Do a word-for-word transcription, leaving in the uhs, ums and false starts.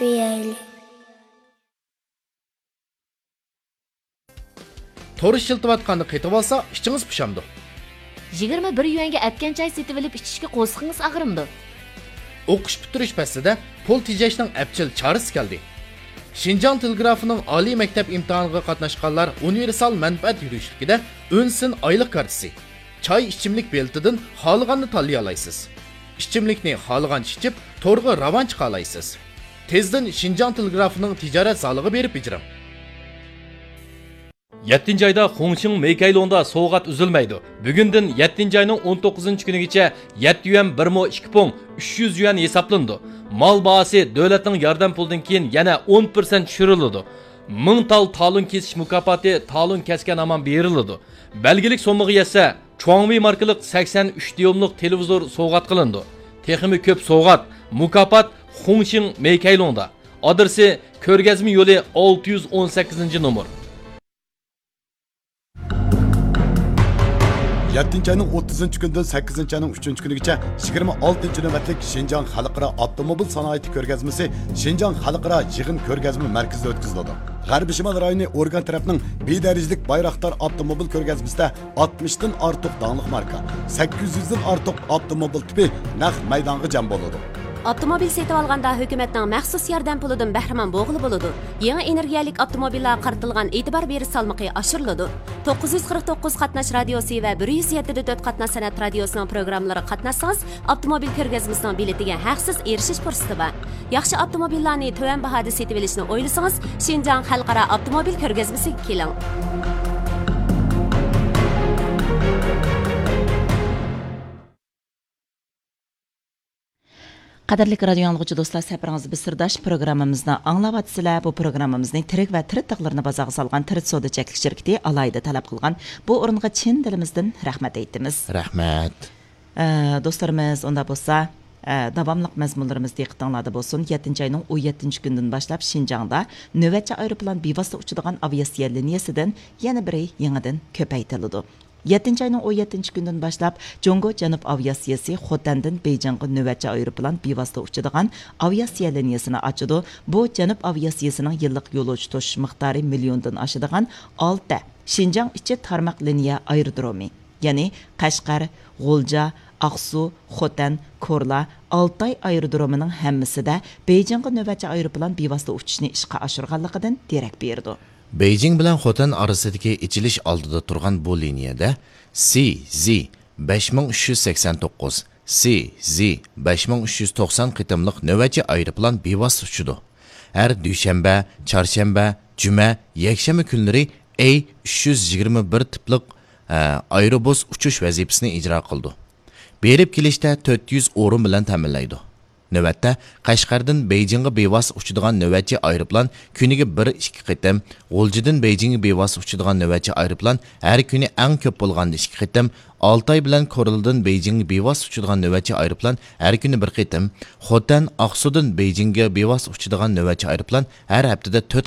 سۆيەيلى. تور ئىشلىتىۋاتقاندا قېتىۋالسا، ئىچىڭىز پۇشامدۇ. يىگىرمە بىر يۈەنگە ئەتكەن چاي سېتىۋېلىپ ئىچىشكە قورسىقىڭىز ئاغرىمدۇ؟ ئوقۇش پۈتتۈرۈش پەسلىدە پۇل تېجەشنىڭ ئەپچىل چارىسى كەلدى. شىنجاڭ تېلېگرافىنىڭ ئالىي مەكتەپ ئىمتىھانىغا قاتناشقانلار ئۇنىۋېرسال مەنپەئەت يۈرۈشلۈكىدە ئۈنسىن ئايلىق كارتىسى، چاي ئىچىملىك بېلىتىدىن خالىغاننى تاللىيالايسىز. ئىچىملىكنى خالىغانچە ئىچىپ، تورغا راۋان چىقالايسىز. تېزدىن شىنجاڭ تېلېگرافىنىڭ تىجارەت زالىغا بېرىپ بېجىرىڭ. يەتتىنچى ئايدا خۇڭشىڭ مېيكەيلۇڭدا سوۋغات ئۈزۈلمەيدۇ. بۈگۈندىن يەتتىنچى ئاينىڭ ئون توققۇزىنچى كۈنىگىچە يەتتە يۈەن بىر مو ئىككى پۇڭ، ئۈچ يۈز يۈەن ھېسابلىنىدۇ. مال باھاسى دۆلەتنىڭ ياردەم پۇلىدىن كېيىن يەنە ئون پىرسەنت چۈشۈرۈلىدۇ. مىڭ تال تالون كېسىش مۇكاپاتى تالون كەسكەن ھامان بېرىلىدۇ. بەلگىلىك سوممىغا يەتسە، چۇاڭۋېي ماركىلىق سەكسەن ئۈچ دىيۇملۇق تېلېۋىزور سوۋغات قىلىنىدۇ. تېخىمۇ كۆپ سوۋغات، مۇكاپات خۇڭشىڭ مېيكەيلۇڭدا. ئادرېسى: كۆرگەزمە يولى، ئالتە يۈز ئون سەككىزىنچى نومۇر. يەتتىنچى ئاينىڭ ئوتتۇزىنچى كۈنىدىن سەككىزىنچى ئاينىڭ ئۈچىنچى كۈنىگىچە يىگىرمە ئالتىنچى نۆۋەتلىك شىنجاڭ خەلقئارا ئاپتوموبىل سانائىتى كۆرگەزمىسى شىنجاڭ خەلقئارا يىغىن كۆرگەزمە مەركىزىدە ئۆتكۈزۈلىدۇ. غەربىي شىمال رايونى ئورگان تەرەپنىڭ بى دەرىجىلىك بايراقدار ئاپتوموبىل كۆرگەزمىسىدە ئاتمىشتىن ئارتۇق داڭلىق ماركا، سەككىز يۈزدىن ئارتۇق ئاپتوموبىل تىپى نەق مەيدانغا جەم بولىدۇ. ئاپتوموبىل سېتىۋالغاندا ھۆكۈمەتنىڭ مەخسۇس ياردەم پۇلىدىن بەھرىمەن بولغىلى بولىدۇ. يېڭى ئېنېرگىيەلىك ئاپتوموبىللارغا قارىتىلغان ئېتىبار بېرىش سالمىقى ئاشۇرۇلىدۇ. توققۇز يۈز قىرىق توققۇز قاتناش رادىيوسى ۋە بىر يۈز يەتتە دە تۆت قاتناش سەنئەت رادىيوسىنىڭ پروگراممىلىرىغا قاتناشسىڭىز، ئاپتوموبىل كۆرگەزمىسىنىڭ بېلىتىگە ھەقسىز ئېرىشىش پۇرسىتى بار. ياخشى ئاپتوموبىللارنى تۆۋەن باھادا سېتىۋېلىشنى ئويلىسىڭىز، شىنجاڭ خەلقئارا ئاپتوموبىل كۆرگەزمىسىگە كېلىڭ. قەدىرلىك رادىيو ئاڭلىغۇچى دوستلار، سەپىرىڭىز بىر سىرداش پروگراممىمىزنى ئاڭلاۋاتىسىلەر. بۇ پروگراممىمىزنى تىرىك ۋە تىرىت تاغلىرىنى بازارغا سالغان تىرىت سودا چەكلىك شىركىتى ئالاھىدە تەلەپ قىلغان. بۇ ئورۇنغا چىن دىلىمىزدىن رەھمەت ئېيتىمىز. رەھمەت. ئە، دوستلىرىمىز، ئۇنداق بولسا، ئە، داۋاملىق مەزمۇنلىرىمىز دىققىتىڭلاردا بولسۇن. يەتتىنچى ئاينىڭ ئون يەتتىنچى كۈنىدىن باشلاپ شىنجاڭدا نۆۋەتچى ئايروپىلان بىۋاسىتە ئۇچىدىغان ئاۋىئاتسىيە لىنىيەسىدىن يەنە بىرى يېڭىدىن كۆپەيتىلىدۇ. يەتتىنچى ئاينىڭ ئون يەتتىنچى كۈنىدىن باشلاپ جۇڭگو جەنۇب ئاۋىئاتسىيەسى خوتەندىن بېيجىڭغا نۆۋەتچى ئايروپىلان بىۋاسىتە ئۇچىدىغان ئاۋىئاتسىيە لىنىيەسىنى ئاچىدۇ. بۇ جەنۇب ئاۋىئاتسىيەسىنىڭ يىللىق يولۇچى توشۇش مىقدارى مىليوندىن ئاشىدىغان ئالتە شىنجاڭ ئىچى تارماق لىنىيە ئايرودرومى، يەنى قەشقەر، غۇلجا، ئاقسۇ، خوتەن، كورلا، ئالتاي ئايرودرومىنىڭ ھەممىسىدە بېيجىڭغا نۆۋەتچى ئايروپىلان بىۋاسىتە ئۇچۇشنى ئىشقا ئاشۇرغانلىقىدىن دېرەك بېرىدۇ. بېيجىڭ بىلەن خوتەن ئارىسىدىكى ئېچىلىش ئالدىدا تۇرغان بۇ لىنىيەدە سى زى بەش مىڭ ئۈچ يۈز سەكسەن توققۇز، سى زى بەش مىڭ ئۈچ يۈز توقسان قېتىملىق نۆۋەتچى ئايروپىلان بىۋاسىتە ئۇچىدۇ. ھەر دۈشەنبە، چارشەنبە، جۈمە، يەكشەنبە كۈنلىرى ئەي ئۈچ يۈز يىگىرمە بىر تىپلىق، ئە، ئايروبۇس ئۇچۇش ۋەزىپىسىنى ئىجرا قىلىدۇ. بېرىپ كېلىشتە تۆت يۈز ئورۇن بىلەن تەمىنلەيدۇ. نۆۋەتتە، قەشقەردىن بېيجىڭغا بىۋاسىتە ئۇچىدىغان نۆۋەتچى ئايروپىلان كۈنىگە بىر ئىككى قېتىم، غۇلجىدىن بېيجىڭگە بىۋاسىتە ئۇچىدىغان نۆۋەتچى ئايروپىلان ھەر كۈنى ئەڭ كۆپ بولغاندا ئىككى قېتىم، ئالتاي بىلەن كورلىدىن بېيجىڭگە بىۋاسىتە ئۇچىدىغان نۆۋەتچى ئايروپىلان ھەر كۈنى بىر قېتىم، خوتەن، ئاقسۇدىن بېيجىڭگە بىۋاسىتە ئۇچىدىغان نۆۋەتچى ئايروپىلان ھەر ھەپتىدە تۆت